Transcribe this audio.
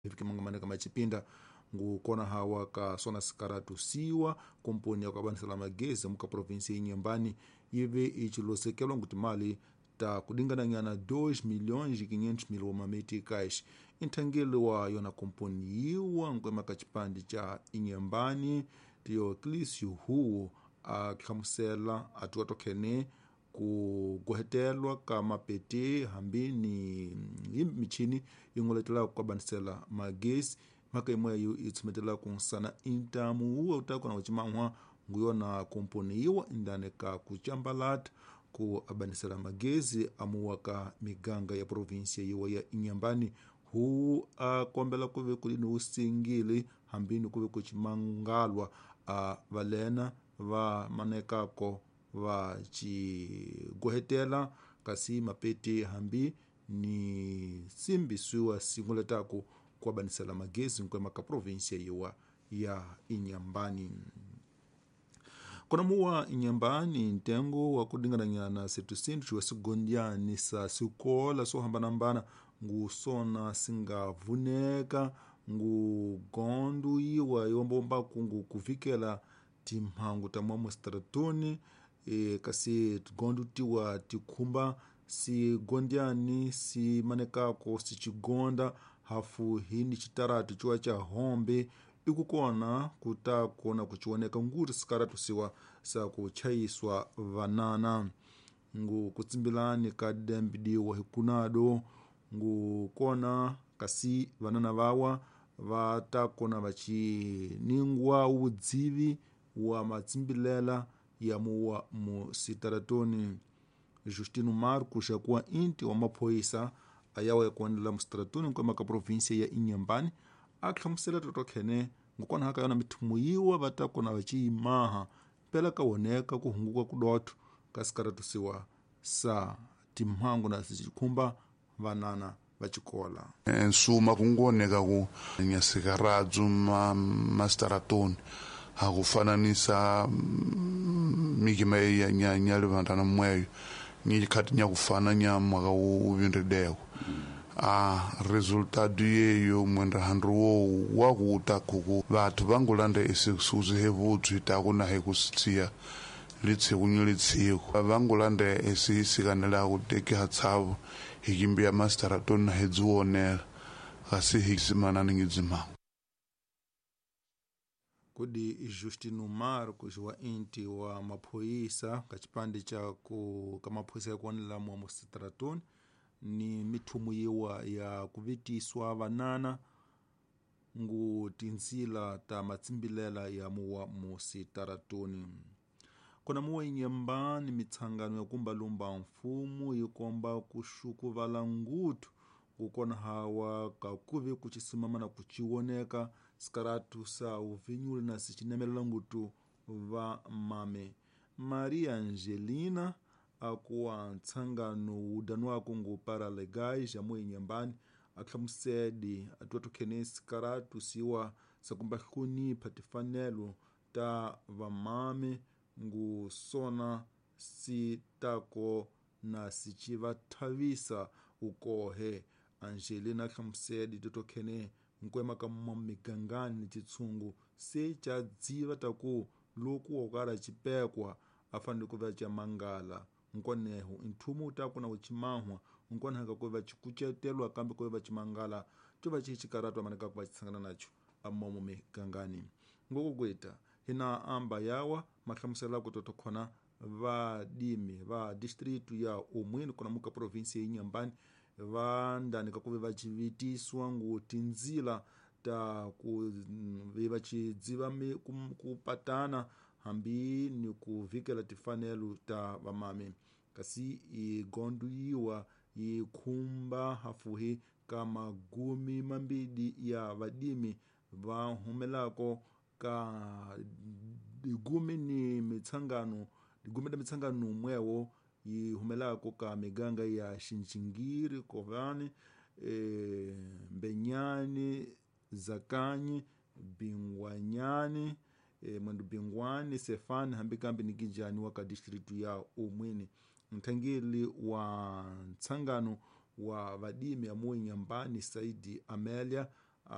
Hivi machipinda ngukona hawa ka sona sikaratu siwa komponi ya kuabanisela magezi muka provinsi Inhambane ive icilosekelwa nguti mali ta kudingananyana 2 milhões e 500 mil wameticais. Nthangeli wa yona komponi yiwa nkwema ka chipande cha Inhambane Teoclício Huo ahlamusela atiwa tokhene ku gohetelwa ka mapete hambi ni hi michini yi n'weletela ku kabanisela magezi mhaka yimweyo yi tshumetela ku nsana intamu wuwe wu ta kona ku ciman'wa nguyona komponi yiwa indani ka ku cambalata ku abanisela magezi amuwa ka miganga ya provinsia yiwa ya Inhambane. Hu a kombela ku ve kuli ni wusingili hambi ni ku ve ku cimangalwa a valena va manekako va cigohetela kasi mapete hambi ni simbisiwa singuletaku ku abanisela magezi nkwema ka provinsia yiwa ya Inhambane. Kona muwa Inhambane ntengo wa kudingananyana setusindu wa sigondiani sa sikola swo hambanahambana ngusona singavuneka ngugondu yiwa yombombaku ngu kuvikela timhangu ta mwamu stratoni kasi tigondu tiwa tikhumba sigondiani simanekako sicigonda hafu hini citaratu ciwa ca hombe ikukona kutakona kucioneka nguri sikaratu siwa sa kuchayiswa vanana ngu kutsimbilani ka dembidiwa hikunado ngukona kasi vanana vawa vatakona vaciningwa udzivi wa matsimbilela ya muwa musitaratoni. Justino Marcos akuwa inti wa maphoyisa ayawa yakuonela musitaratoni nkwema ka provinsia ya Inhambane ahlamusela totokhene ngukona haka yona mithumu yiwa vatakona vaciyimaha mpela kawoneka kuhunguka kudotho ka sikaratusiwa sa timhangu na sicikhumba vanana vacikola. Nsuma kungoneka ku nyasikaradzu ma mastaratoni akufananisa mikima ya nyalivandana mweyo nyikhati nyakufana nyamwaka uvinrideko a resultado yeyo mwenda handu wowu wakuta kuku vathu vangulanda esikusuzi hevudzwi taku na hekusitsiya litsiku ni litsiku vangulanda esisikanela kutekeha tsavo hikimbiya mastaratoni na hedziwonela kasi hisimanani ngidzimangu. Kudi Justino Marcos wa inti wa maphoyisa ka chipande cha ku ka maphoyisa ya kuonela mwa musitratoni ni mithumu yiwa ya kuvitiswa vanana ngu tinzila ta matsimbilela ya muwa musitaratoni. Kona muwa Inhambane mitsangano ya kumbalumba mfumu yikomba kuxukuvala nguthu kukona hawa kakuve kucisimama na kuciwoneka sikaratu sa uvinyuli na sicinemelela ngutu va mame. Maria Angelina akuwa ntsangano wudanwako ngu paralegais amu Inhambane ahlamusedi atiwa tokhene sikaratu siwa sakumba hlonipha tifanelo ta vamame ngu sona sitako na sicivathavisa ukohe. Angelina ahlamusedi totokhene nkwema ka migangani citshungu se ca dziva taku loku wokala cipekwa afanele kuva ca mangala nkoneho nthumu utaku na ucimahwa nkonehaka kuva cikucetelwa kambe kuva cimangala cova cihi cikaratu amaneka kuva cisangana naco amomo migangani. Ngokukwita hina amba yawa mahlamusela kutotokhona vadimi va distritu ya Umwini kona muka provinsia ya Inhambane vandani kakuve vacivitiswa ngu tinzila ta ku vacidziva kupatana hambi ni kuvikela tifanelo ta vamame kasi igondu yiwa yikhumba hafuhi ka magumi mambidi ya vadimi va humelako ka digumi ni mitsangano digumi da mitsangano mwewo yi humelako ka miganga ya Xinxingiri, Kovani, Mbenyani, Zakanyi, Bingwanyani, Mwendu Bingwani, Sefani hambi kambi ni Kijani wa ka distritu ya Umwini. Nthangeli wa ntsangano wa vadimi amu Inhambane Saidi Amélia